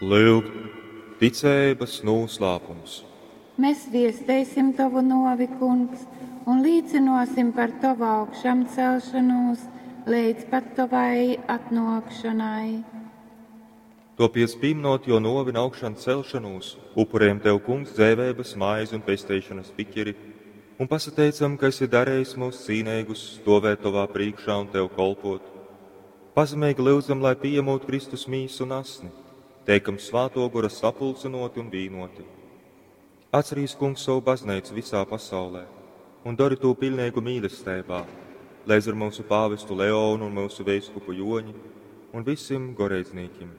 Lyuk, ticeibas nūslāpums. Mēs viesteisim tovu nōvi, Kungs, un līcynōsim par tovu augšamcelšanūs leidz pat tovai atnōkšanai. Topiec pīminot jo nōvi un augšan celšanūs, upurējam Tev, Kungs, dzeiveibas maizi un pesteišanas biķeri, un pasateicam, ka esi darējis mūs cīneigus stovēt Tovā priekšā un Tev kolpot. Pazemeigi lyudzam, lai pieņemot Kristus mīsu un asni, teikam Svāto Gora sapulcinoti un vīnoti. Atcerīs, Kungs, savu baznīcu visā pasaulē un dari to pilnīgu mīlestībā, līdz ar mūsu pāvestu Leonu un mūsu veiskupu Joņi un visiem goreidznīkim.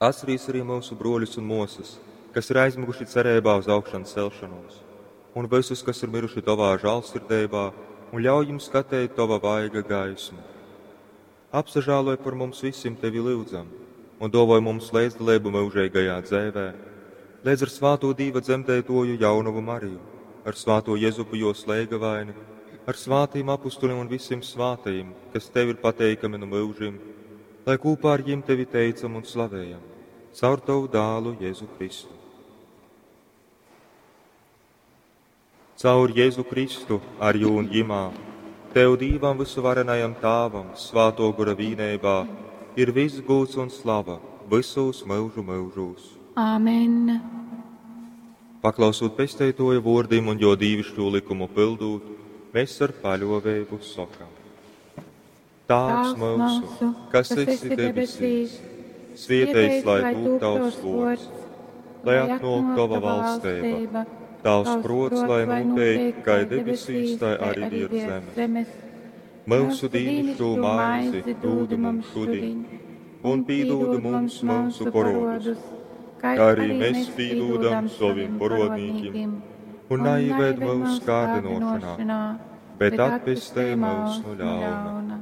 Atcerīs arī mūsu broļus un mosas, kas ir aizmiguši cerībā uz augšanu celšanos, un visus, kas ir miruši tavā žālsirdībā, un ļauj jums skatīt tava vaiga gaismu. Apsažāloj par mums visiem tevi lūdzam, un dovoj mums līdzdalību mūžīgajā dzēvē, līdz ar svāto Dīva dzemdētoju jaunavu Mariju, ar svāto Jezupu jo slēgavaini, ar svātīm apustulim un visiem svātajiem, kas tev ir pateikami no mūžiem, lai kopā ar jiem tevi teicam un slavējam, caur tavu dālu Jēzu Kristu. Caur Jēzu Kristu, ar jū un jimā, Tev Dīvam visuvarenajam Tāvam, svāto gora vīnībā, ir viss gūts un slava visos mūžu mūžos. Āmen. Paklausot pesteitoja vōrdim un jo dīvišķo likumu pildūt, mēs ar paļovēbu sokam. Tāvs mūsu, kas esi debesīs, svietēts, lai tūp tavs vārds, lai atnāk tava valstība, tavs prots, lai notiek, kā debesīs, tai arī virs zemes. Mūsu dīnišķo maizi dūdi mums šodien, un pīdūdi mums mūsu porodus, kā arī mēs pīdūdam saviem porodnīkim, un naieved mūsu kārdinošanā, bet atpestē mūs no ļauna.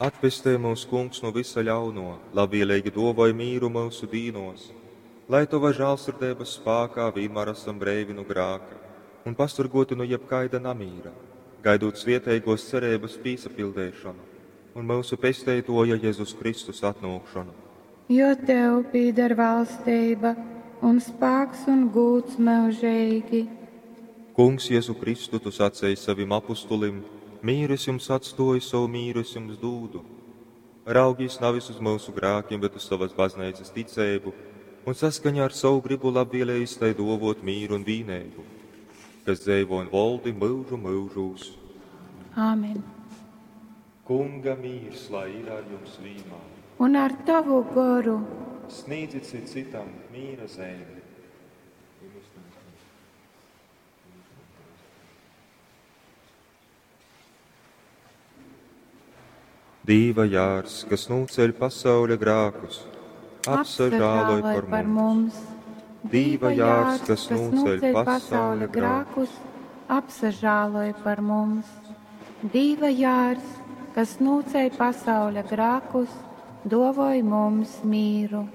Atpestē mūs, Kungs, no visa ļauno, labvēlīgi dovoj mīru mūsu dīnos, lai Tava žālsirdības spākā vienmēr esam breivi no grāka un pasargoti no jebkaida namīra, gaidot svietēgos cerības pīsapildēšanu un mūsu pesteitoja Jēzus Kristus atnākšanu. Jo tev pīder valstība un spāks un gūts mūžīgi. Kungs, Jēzu Kristu, tu sacēji savim apustulim, mīru es jums atstoju, savu mīru es jums dūdu. Raugīs nevis uz mūsu grākiem, bet uz savas baznīcas ticību, un saskaņā ar savu gribu labvēlējis tai dovot mīru un vīnēbu, kas dzēvo un valdi mūžu mūžūs. Āmen. Kunga mīrs, lai ir ar jums vienmēr. Un ar tavu goru. Sniedzit cit citam mīra zīmi. Dīva jārs, kas nūceļ pasauļa grākus, apsažāloj par, par mums. Dīva jārs, kas nūceļ pasauļa grākus, apsažāloj par mums. Dīva jārs, kas nūceļ pasauļa grākus, dovoj mums mīru.